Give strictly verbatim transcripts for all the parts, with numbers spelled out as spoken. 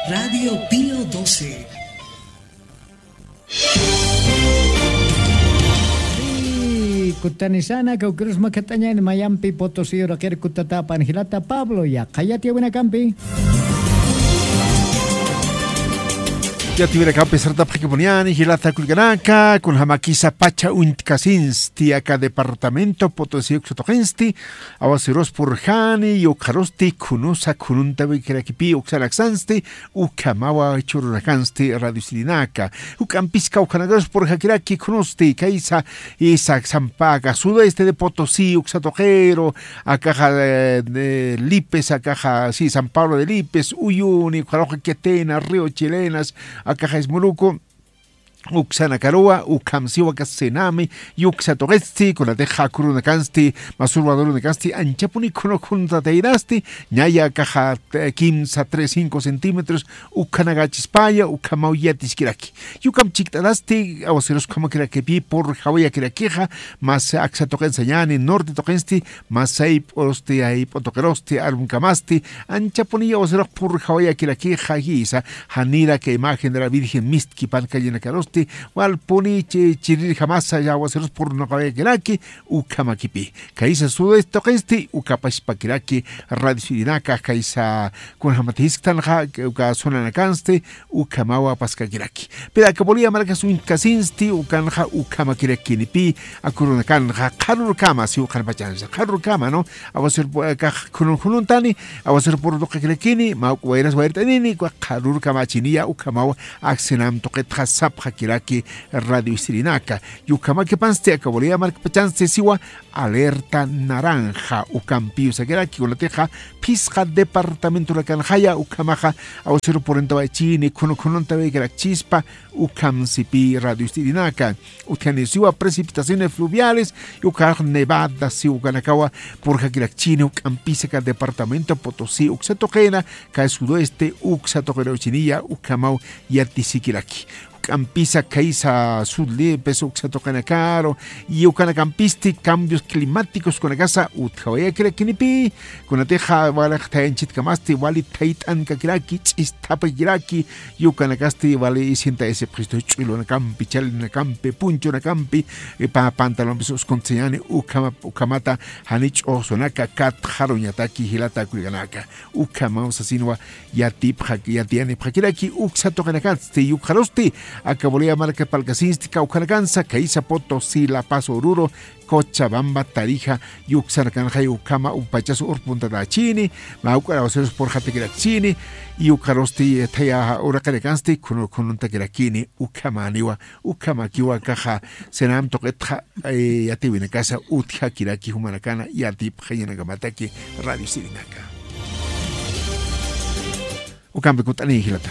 Radio Pío doce. Y kutanisana, kawkirus makatañan mayampi Potosí uraqir kutatapan jilata Pablo, yaqha yatiyawinakampi. Yatiyawinakampi sartapxakipuniani, jilata kullkanaka, kunjamakisa pacha uñtkasinsti, aka departamento Potosí uksa tuqinsti, awasirus purjani, yukxarusti, khunusa, khununtawi kirakipï, uksan aksansti, ukhamawa chururakañsti radio sirinaka. Juk'ampis kawkhanakarus purjakiraki khunusti, kaysa, isa, sampaka, sudeste de Potosí, uksa tuqiru, akaxa, eh, de Lipes, akaxa, sí, San Pablo de Lipes, Uyuni, ukxaruxa Quetena, Río Chilenas, akaxa Ismuruku, uksanakaruwa, ukhamsiwa aka Senami, yuksa tuqisti, kunatixa kurunakansti, masurwadurunakansti, anchapuni khunu khununtatayinasti, ñaya akaxa, eh, kimsa, tres, cinco centímetros, ukhanakachispaya, ukhamaw yatiskiraki. Yukham chikt'atasti, awasirus ukhamakirakipï, purjawayakirakixa, mas aksa tuqinsañani, norte tuqinsti, masayp'urusti, ayp'u tuqirusti, arumkamasti, anchapuni awasirux purjawayakirakixa, jisa, janira aka imagen de la Virgen mistki pankallinakarusti, walpuni chi-, chirirjamasa, awasirus purjawayakiraki, ukhamakipï. Kaysa sudeste tuqinsti, ukhapachpakiraki, radio sirinaka, kaysa, kunjamat jisktanxa, uka zonanakansti, ukhamawa paskakiraki. Pero aka Bolivia markas uñtkasinsti, ukanxa ukhamakirakïnipï, aka urunakanxa, qharürkama, siw qhanpachansa, qharürkama, ¿no? Awasir pu-, aka khunun khununtani, awasir purtuqakirakini, mä uk wayras wayrt'anini, uka qharürkamachiniya, ukhamawa, ak Senam tuqitxa sapxakiraki, radio sirinaka. Yukhamakipansti, aka Bolivia markpachansti, siwa, alerta naranja, ukampi usakiraki, kunatixa, phisqa departamentorakanxaya, ukhamaxa, awasir purintawaychini, khunu khununtawayakirakchispa, ukhamsipï radio sirinaka. Utjani siwa precipitaciones fluviales, ukax nevada, siw ukanakawa, purjakirakchini, juk'ampisa aka departamento Potosí, uksa tuqina, aka sudoeste, uksa tuqina uchiniya, ukhamaw yatisikiraki. Juk'ampisa kaysa sudlipis uksa tuqinakaru, y ukanakampisti cambios climáticos kunakasa utjawayakirakïnipï, kunatixa wali thayanchitkamasti, wali thayt'ankakiraki, ch'isthapakiraki, y ukanakasti wali sienta ese puesto ch'ullunakampi, chalinakampi, punchunakampi, eh, pa-, pantalones uskuntsañani, ukhama-, ukhamata jani ch'uxsunaka katxaruñataki jilata kullkanaka. Ukhamaw sasinwa yatipxak-, yatiyanipxakiraki uksa tuqinakatsti, yukxarusti, aka Bolivia marka palkasinsti kawkhanakansa, kaysa Potosí, La Paz, Oruro, Cochabamba, Tarija, yuksanakanxay ukhama upachas urpuntatachini, mä uk'ar awasirus purjatakirakchini, y ukxarusti thaya uraqinakansti, khunu-, khununtakirakini, ukhamaniwa, ukhamakiwa akaxa, Senam tuqitxa, eh, yatiwinakasa utjakiraki jumanakana yatipxañanakamataki radio sirinaka. Ukampi kutt'ani jilata.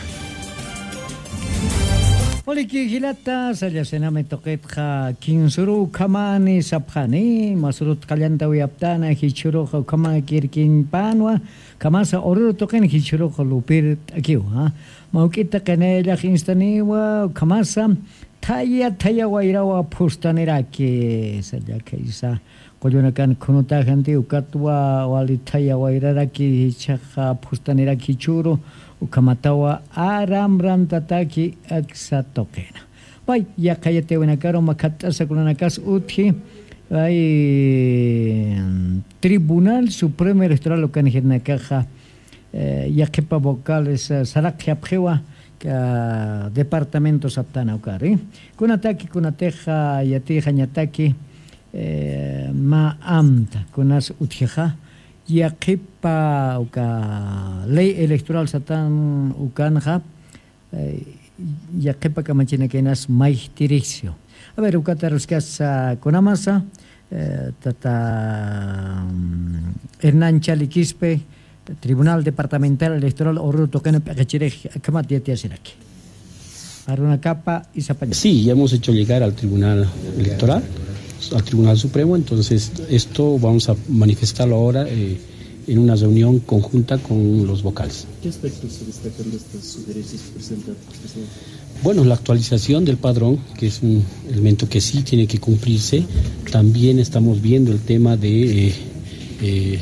Waliki jilata, salla Senami tuqitxa kinsuru ukhamani sapxani, masurut qallantawayaptana, jichhurux ukhamakirkiñpanwa, ukhamasa Oruro tuqin jichhurux lupirt'akiwa, ¿ah? Mä juk'ita qinayllax instaniwa, ukhamasa, thaya, thaya wayrawa phustaniraki, salla khaysa. Qullunakan khunutaxanti ukatwa wali thaya wayraraki jichhaxa phustaniraki jichhüru, ukhamatawa aramrantataki aksa tuqina. Pay, yaqha yatiyawinakaru makhatt'asa kunanakas utji, ay, Tribunal Supremo Electoral ukan jirinakaxa, eh, yaqhipa vocales, eh, saraqyapxiwa, ah, departamento saptana ukari. Kunataki, kunatixa, yatixañataki, eh, mä amta, kunas utjixa, yaqhipa uka ley electoral satan ukanxa, eh, yaqhipa kamachinakaynas mayjtirixsiw. A ver, ukataruskas, ah, kunamasa, eh, tata, mm, Hernán Chali Quispe, Tribunal Departamental Electoral Oruro tuqina p'iqichirix, akhamat yatiyasiraki. Arunakapa isapaña. Sí, ya hemos hecho llegar al Tribunal Electoral, al Tribunal Supremo, entonces esto vamos a manifestarlo ahora, eh, en una reunión conjunta con los vocales. ¿Qué aspectos se destacan de estas sugerencias que presenta? Bueno, la actualización del padrón, que es un elemento que sí tiene que cumplirse. También estamos viendo el tema de, eh, eh,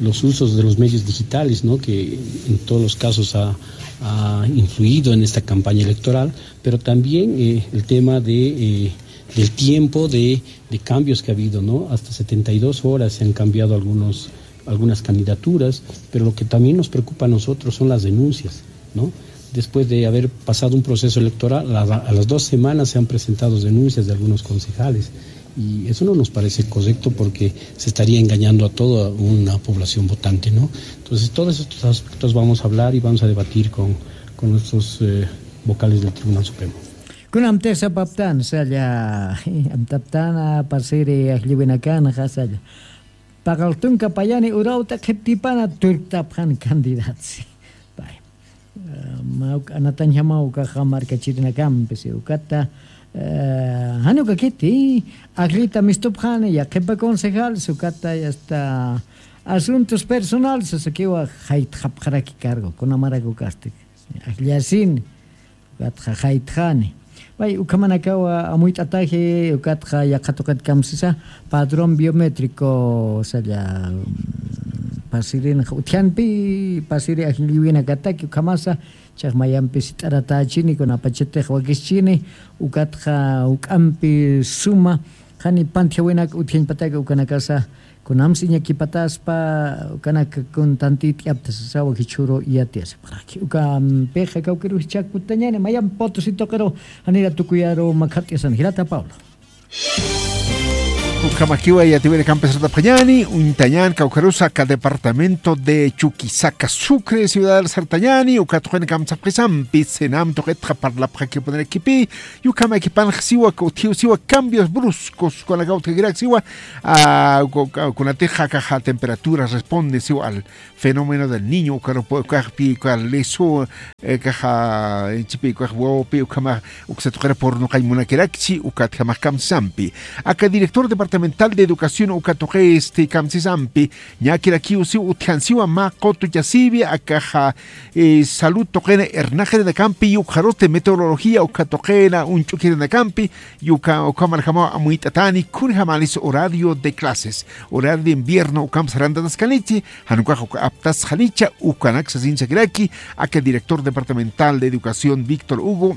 los usos de los medios digitales, ¿no? Que en todos los casos ha, ha influido en esta campaña electoral, pero también, eh, el tema de, eh, del tiempo de, de cambios que ha habido, ¿no? Hasta setenta y dos horas se han cambiado algunos, algunas candidaturas, pero lo que también nos preocupa a nosotros son las denuncias, ¿no? Después de haber pasado un proceso electoral, a la, a las dos semanas se han presentado denuncias de algunos concejales. Y eso no nos parece correcto porque se estaría engañando a toda una población votante, ¿no? Entonces, todos estos aspectos vamos a hablar y vamos a debatir con, con nuestros, eh, vocales del Tribunal Supremo. Kunamtix sapaptan, saya, amtaptana, pasiri, ajlliwinakanxa, saya. Paqal tunka payani urawta qhiptipana turktapxan candidatsi. Pay. Eh, mawk anatañjamaw ukaxa markachirinakampi, si ukata, eh, jani ukakiti, ajllita mistupxani, ya qhipa concejal, si ukata, ya está, asuntos personales, sasakiwa jaytxapxaraki cargo, kunamarak ukasti. Ajllasin, ukatxa jaytxani. Pay, ukhamanakawa amuyt'ataji, ukatxa yaqha tuqit kamsisa, padrón biométrico, saya, mm, pasirinxa utjanpi, pasiri ajlliwinakataki, ukhamasa, chax mayampi sit'aratächini, kunapachatix wakischini, ukatxa juk'ampi suma, jani pantjawinak utjañpataki, ukanakasa, kunams iñakipataspa, ukanak kun tantit'yapta sasawa jichhüru yatiyasipxaraki. Ukampixa kawkïrus jichhakutañani, mayamp Potosí tuqiru, janira tukuyaru makhart'yasan, jilata Pablo. Ukhamakiwa yatiyawinakampis sartapxañani, uñtañan kawkïrus aka departamento de Chuquisaca, Sucre, ciudad sartañani, uka tuqinakam sapxisampi, CENAM tuqitxa parlapxakipunirakipi, y ukhamakipanx siwa, utjiw siwa cambios bruscos, kunaka utjakirak siwa, ah, ku-, ku-, kunatix akaxa temperatura responde siwa al fenómeno del Niño, ukarup ukaxpi, uka lisu, eh, kaxa, chipi, ukax wawapi, ukhama, uksa tuqira purnuqañ munakirakchi, ukatjamax kamsisampi. Aka director departamental de educación uka tuqisti kamsisampi, ñakirakiw siw utjan siwa mä qutuchasiwi, akaxa, eh, salud tuqina irnaqirinakampi, y ukxarusti meteorología uka tuqina uñch'ukirinakampi, y uka, ukhamarjamaw amuyt'atani, kunjamanis horario de clases, horario de invierno, ukham sarantataskanichi, jan ukax uka aptasxanicha, ukanak sasin sakiraki, aka director departamental de educación Víctor Hugo,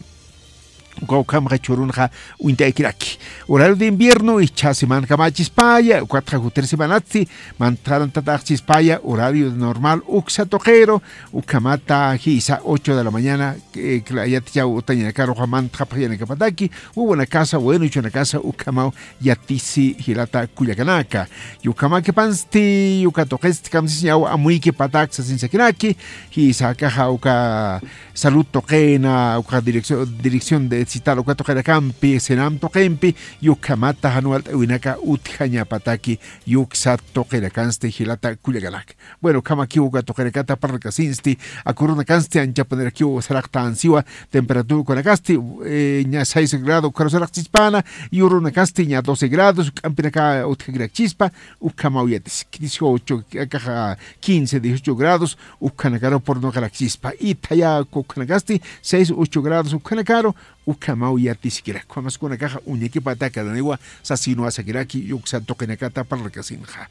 uka ukhamxa jichhürunxa uñt'ayakiraki. Horario de invierno, jichha semanakamächispaya, ukatxa jutir semanatsti, mantarantat'axchispaya, horario normal, uksa tuqiru, ukhamata jisa ocho de la mañana, eh, kla-, yatichaw utañanakaruxa mantxapxayanakapataki, wawanakasa, waynachunakasa, ukhamaw yatisi jilata kullakanaka. Y ukhamakipansti, uka tuqisti kamsisiñaw amuykipatak sasin sakiraki, jisa akaxa uka salud tuqina, uka dirección, dirección de digital, uka tuqinakampi, CENAM tuqimpi, y ukhamata jan walt'äwinaka utjañapataki, y uksa tuqinakansti jilata kullakanaka. Bueno, ukhamakiw uka tuqinakata parlkasinsti, aka urunakansti anchapunirakiw saraqtan siwa, temperatura ukanakasti, eh, ña seis grado ukaru saraqchispana, y urunakasti ña doce grados, juk'ampinaka utjakirakchispa, ukhamaw yatisik, dieciocho, akaxa quince, dieciocho grados, ukhanakaru purnuqarakchispa, y thaya ukhanakasti seis, ocho grados, ukhanakaru, ukhamaw yatisikirak. Ukhamas kunakaxa uñakipataka daniwa, sasinwa sakiraki, y uksa tuqinakata parlkasinxa.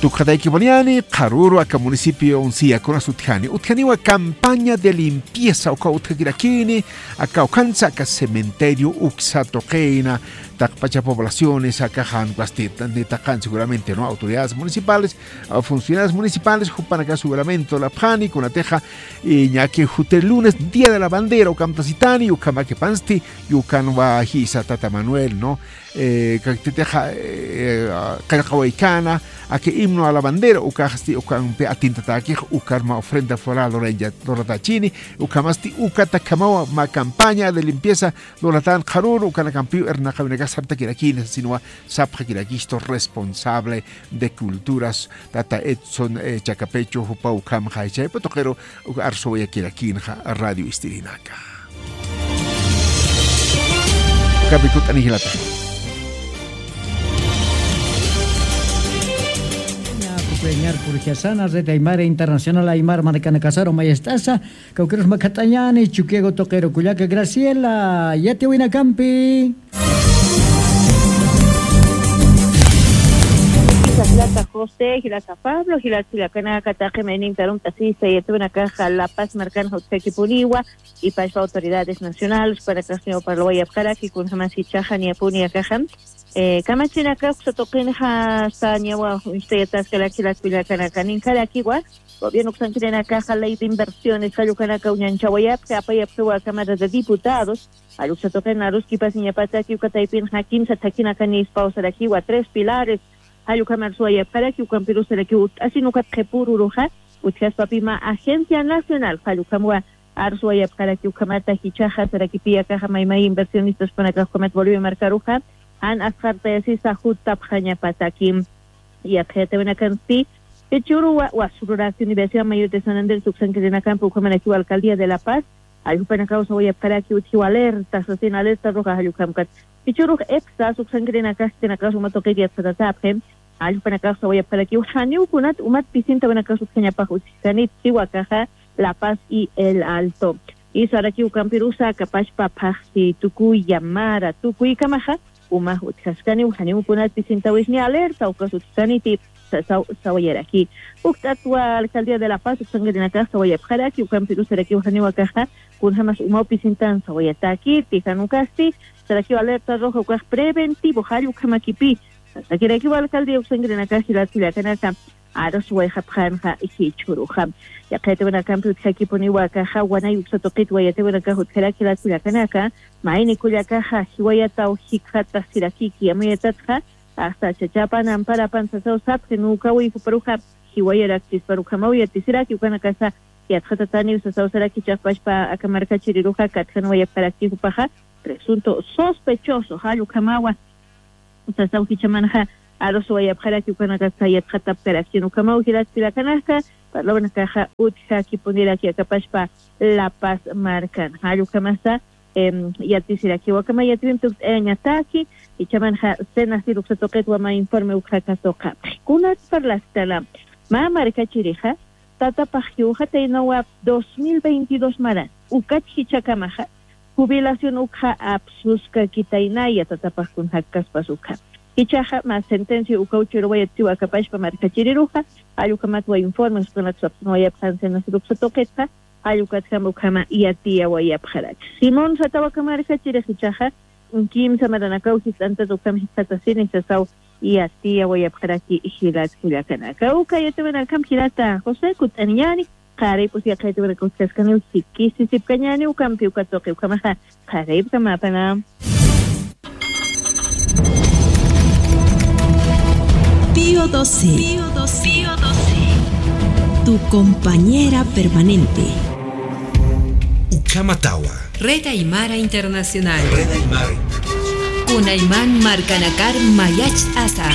Tukxataykipuniani, qharüru aka municipio Uncía kunas utjani. Utjaniwa campaña de limpieza, uka utjakirakini, aka ukhansa, aka cementerio, uksa tuqina, taqpacha poblaciones, aka jan ukax ti-, ni taqan seguramente, ¿no? Autoridades municipales, ah, funcionarios municipales, jupanaka seguramente lurapxani, kunatixa, eh, ñaki jutir lunes, Día de la Bandera, ukamtasitani, ukhamakipansti, y ukanwa jisa tata Manuel, ¿no? Eh, kaktitixa, eh, qillqawaykana, aka himno a la bandera, ukaxsti, ukampi atintatakix, ukarma ofrenda floral luraña-, luratachini, ukhamasti, ukatakhamawa mä campaña de limpieza luratan qharüru, ukanakampiw irnaqawinakax sartakirakini, sasinwa sapxakirakistu responsable de culturas, tata Edson, eh, Chacapecho, jupaw ukhamxa, jichhaypa tuqiru, uk arsuwayakirakinxa radio istirinaka. Ukapi kut'ani jilata. Ña, kukuyañar purjasana, Red Aymara Internacional Aymar markanakasaru mayist'asa, kawkïrus makhat'añani, Chukiyawu tuqiru kullaka Graciela, yatiyawinakampi. Jilata José, jilata Pablo, jilat jilakanaka, taqi mayninta arumt'asista yatawinakaxa La Paz markanxa utjakipuniwa, y pachpa autoridades nacionales, jupanakax parlawayapxaraki, kunjamas jichhaxa niyapuni akaxa, eh, kamachinaka uksa tuqinxa sañawa uñstayataskaraki jilat jilakanaka, ninkarakiwa, gobierno uksankirinakaxa ley de inversiones, jallukanaka uñanchawayapxi, apayapxiwa a Cámara de Diputados, jall uksa tuqin aruskipasiñapataki, uka taypinxa kimsa thakhinaka nispaw sarakiwa, tres pilares, jall ukhamar suwayapxaraki, ukampirus sarakiw utt'asin ukat qhipüruruxa, utjaspapï mä Agencia Nacional, jall ukhamwa arsuwayapxaraki, ukhamata jichhaxa sarakipi akaxa maymay inversionistas jupanakax ukhamat Bolivia markaruxa, jan asqartayasisa jutapxañapataki. Yaqha yatawinakampi, jichhüruwa, Wasururaki Universidad Mayor de San Andrés uksankirinakampï, ukhamarakiw Alcaldía de La Paz, jall jupanakaw sawayapxaraki utjiw alerta, sasin alerta roja jall ukhamkat. Jichhürux EPSAS uksankirinakax, jichhanakax uma tuqit yatxatatäpxi, jall jupanakax sawayapxarakiw janiw kunat umat pisintawinakax utjañapax utjkanit, siwa akaxa La Paz y El Alto. Y sarakiw ukampirusa, kapachpa phaxsi tukuy llamara tukuykamaxa, umax utjaskaniw, janiw kunat pisintawisni alerta ukas utjkaniti, sa-, saw-, sawayaraki. Ukt'atwa Alcaldía de La Paz uksankirinakax sawayapxaraki, ukampirus sarakiw janiw akaxa kunjamas umaw pisintan sawayatäkiti, jan ukasti sarakiw alerta roja ukax preventivo, jall ukhamakipï. Sasakirakiw alcaldía uksankirinakax jilat jilakanaka, arsuwayxapxänxa jichhüruxa. Yaqha yatawinakampi utjakipuniwa akaxa, wanay uksa tuqitwa yatawinakax utjaraki jilat jilakanaka, mayni kullakaxa jiwayataw jikxatax sirakiki, amuyatatxa, hasta chachapan amparapan sasaw sapxi, nukawï juparuxa jiwayarakchisparukhamaw yatisiraki, ukanakasa yatxatataniw sasaw saraki, chiqpachpa aka markachiriruxa katjanwayapxarakchi jupaxa presunto sospechoso, jall ukhamawa sasaw jichhamanxa arsuwayapxaraki, ukanakasa yatxatapkarakchin ukhamaw jilat jilakanaka, parlawanakaxa utjakipuniraki akapachpa La Paz markan, jall ukhamasa, em, yatisirakiwa akhama yatiyunt'ayañataki, jichhamanxa Senacid uksa tuqitwa mä informe uksa katuqapxi. Kunat parlastana, mä markachirixa, tatapax jiwxataynawa dos mil veintidós maran, ukat jichhakamaxa, jubilación ukxa apsuskakitaynaya tatapax kun jakkaspas ukxa. Jichhaxa mä sentencia ukaw churwayatchiwa akapachpa markachiriruxa, jall ukhamatwa informes ukanaksa apsunwayapxän Senacid uksa tuqitxa, jall ukatjam ukhama yatiyawayapxaraki. Simón Satawa aka markachirix jichhaxa, kimsa maranakaw jist'antat ukham jist'atasini sasaw yatiyawayapxaraki jilat jilakanaka. Uka yatawinakam jilata José, kutt'aniñäni, qharipus yaqha yatawinakaw utjaskaniw, jikisisipkañäni ukampi uka tuqi, ukhamaxa qharipkamäpana. Pío doce. Pío doce. Tu compañera permanente. Ukhamatawa. Red Aymara Internacional. Red Aymara Internacional. Kunayman markanakar mayacht'asa.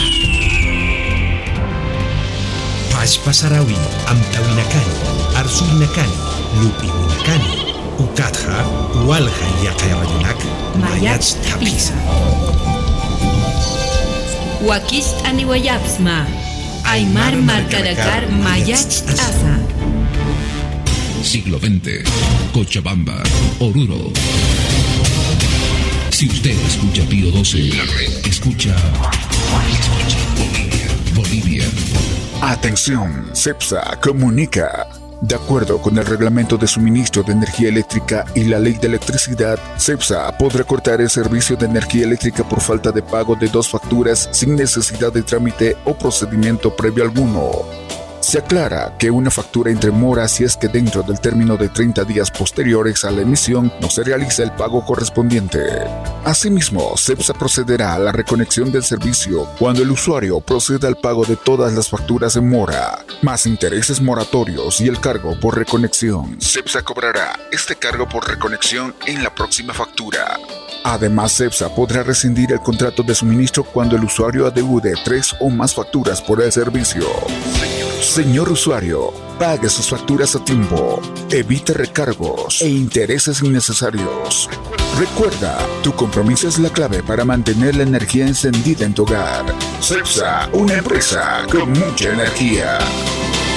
Pachpa sarawin, amtawinakani, arsuwinakani, lup'iwinakani, ukatxa walja yaqha radionak mayacht'apisa. Mayacht'apisa. Wakicht'aniwayapxsma. Aymar markanakar mayacht'asa. Siglo veinte, Cochabamba, Oruro. Si usted escucha Pío doce, escucha Bolivia. Bolivia. Atención, SEPSA comunica. De acuerdo con el Reglamento de Suministro de Energía Eléctrica y la Ley de Electricidad, SEPSA podrá cortar el servicio de energía eléctrica por falta de pago de dos facturas sin necesidad de trámite o procedimiento previo alguno. Se aclara que una factura entra en mora si es que dentro del término de treinta días posteriores a la emisión no se realiza el pago correspondiente. Asimismo, SEPSA procederá a la reconexión del servicio cuando el usuario proceda al pago de todas las facturas en mora, más intereses moratorios y el cargo por reconexión. SEPSA cobrará este cargo por reconexión en la próxima factura. Además, SEPSA podrá rescindir el contrato de suministro cuando el usuario adeude tres o más facturas por el servicio. Señor usuario, pague sus facturas a tiempo. Evite recargos e intereses innecesarios. Recuerda, tu compromiso es la clave para mantener la energía encendida en tu hogar. SEPSA, una empresa con mucha energía.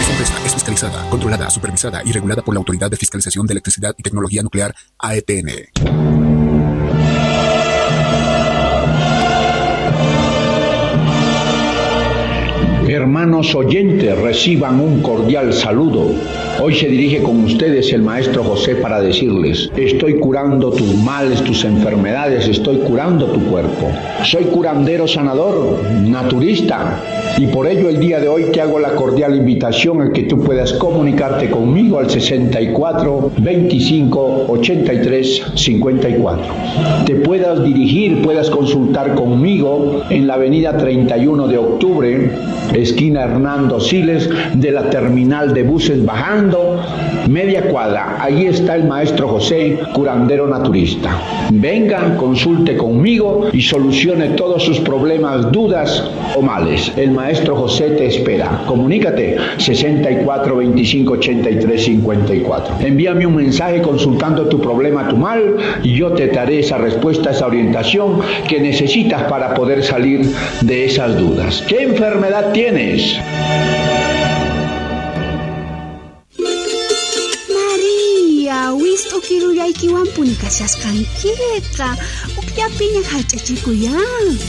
Esta empresa es fiscalizada, controlada, supervisada y regulada por la Autoridad de Fiscalización de Electricidad y Tecnología Nuclear, A E T N. Hermanos oyentes, reciban un cordial saludo. Hoy se dirige con ustedes el maestro José para decirles, estoy curando tus males, tus enfermedades, estoy curando tu cuerpo. Soy curandero sanador, naturista, y por ello el día de hoy te hago la cordial invitación a que tú puedas comunicarte conmigo al sesenta y cuatro veinticinco ochenta y tres cincuenta y cuatro. Te puedas dirigir, puedas consultar conmigo en la avenida treinta y uno de octubre, esquina Hernando Siles, de la terminal de buses bajando media cuadra. Allí está el maestro José, curandero naturista. Venga, consulte conmigo y solucione todos sus problemas, dudas o males. El maestro José te espera. Comunícate sesenta y cuatro veinticinco ochenta y tres cincuenta y cuatro. Envíame un mensaje consultando tu problema, tu mal, y yo te daré esa respuesta, esa orientación que necesitas para poder salir de esas dudas. ¿Qué enfermedad tienes? María, wist'u kirullaykiwanpuni kashasqankiqa. Ukllapiña jallch'achikuyá.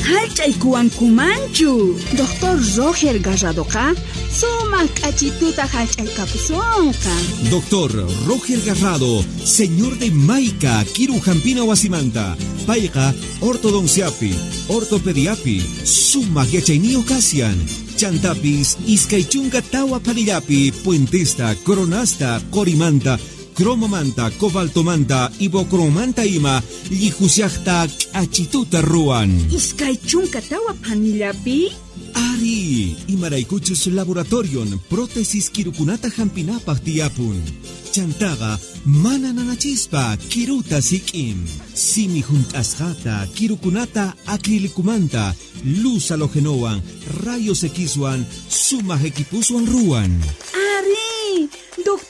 Jallch'aykuwankumanchu. Doctor Roger Garradoqa sumaq k'achituta jallch'aykapusunqa. Doctor Roger Garrado, señor de Maica, kiru jampina wasimanta. Payqa ortodonciapi, ortopediapi sumaq yachayniyuq kasyan. Chantapis iskay chunka tawa phanillapi puentesta, coronasta, qorimanta, cromomanta, cobaltomanta, ibocromanta ima llijushaqta k'achituta ruwan. Iskay chunka tawa phanillapi? Ari, imaraykuchus laboratorion prótesis kirukunata jampinapaq tiyapun. Chantaqa mana nanachispa kiruta sik'in. Simi hunt'asqata kirukunata acrílicomanta, luz halógenowan, rayos Xwan, sumaq equiposwan ruwan.